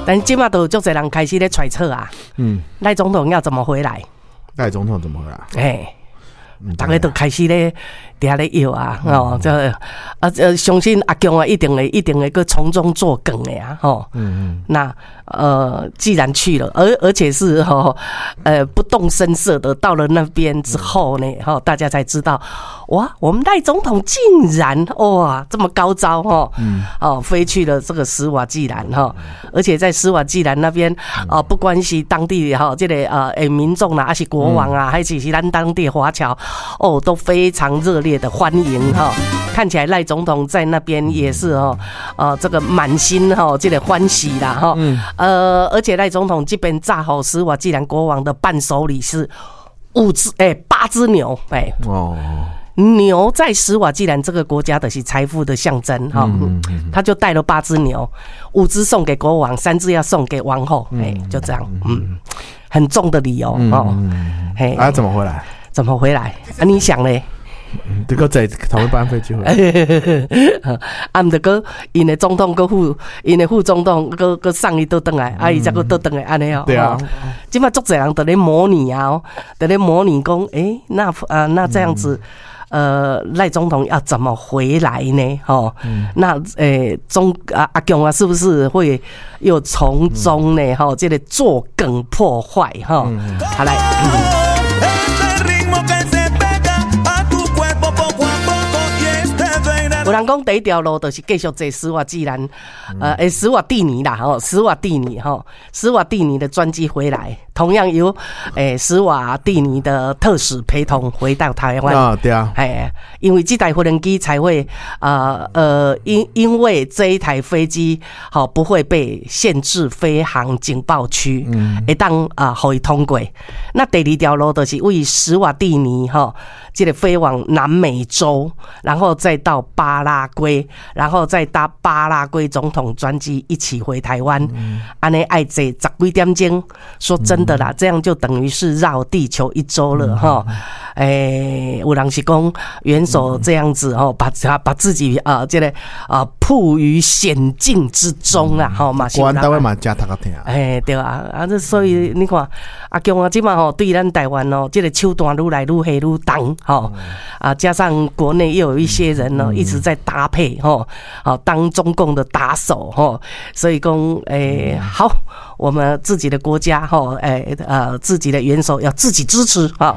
但這馬都有足濟人開始咧揣測啊，賴總統要怎麼回來？賴總統怎麼回來？欸，逐家都開始咧佇遐咧搖啊，吼，這啊，相信阿共啊，一定會閣從中作梗的啊，吼。那既然去了，而且是吼，不動聲色的到了那邊之後呢，吼，大家才知道，哇，我們賴總統竟然哇這麼高招吼，哦，飛去了這個史瓦濟蘭哈，而且在史瓦濟蘭那邊哦，不管是當地哈這個民眾啦，還是國王啊，還是咱當地華僑，哦，都非常熱烈的歡迎哈。看起來賴總統在那邊也是哦，這個滿心哈這個歡喜啦哈。而且賴總統這邊炸予史瓦濟蘭國王的伴手禮是五隻八隻牛欸。哦。牛在史瓦濟蘭這個國家的是財富的象徵哈，他就帶了八隻牛，五隻送給國王，三隻要送給王後，欸，就這樣，很重的禮哦，哦，嘿，啊，怎麼回來？怎麼回來？啊，你想咧？這個坐同一班飛機回來。啊，毋著閣𪜶的總統閣副，𪜶的副總統閣閣送伊倒轉來，啊，伊才閣倒轉來按呢哦。對啊。這馬足濟人佇咧模擬啊，佇咧模擬講，欸，那啊，那這樣子。賴總統要怎麼回來呢？吼，那中啊阿共啊，是不是會又從中呢？吼，這個作梗破壞？哈，好來。有人講第一條路就是繼續坐史瓦濟蘭，史瓦蒂尼啦，吼，史瓦蒂尼，吼，史瓦蒂尼的專機回來，同樣由史瓦蒂尼的特使陪同回到台灣。啊，對啊，哎，因為這台飛機才會，因為這一台飛機，吼，不會被限制飛航警報區，會當啊，予伊通過。那第二條路就是為史瓦蒂尼，吼，這個飛往南美洲，然後再到巴拉圭，然後再搭巴拉圭總統專機一起回台灣。按呢愛坐十幾點鐘，說真的啦，這樣就等於是繞地球一周了哈。欸，有人是講元首這樣子吼，把自己啊，這個啊，曝於險境之中啊，吼嘛。國安單位嘛，誠頭殼疼。欸，對啊，啊，這所以你看，阿共啊，這馬吼對咱台灣哦，這個手段愈來愈狠愈重，吼啊，加上國內又有一些人呢，一直在搭配，吼，好當中共的打手，吼，所以講，欸，好，我們自己的國家，吼，欸，自己的元首要自己支持，哈。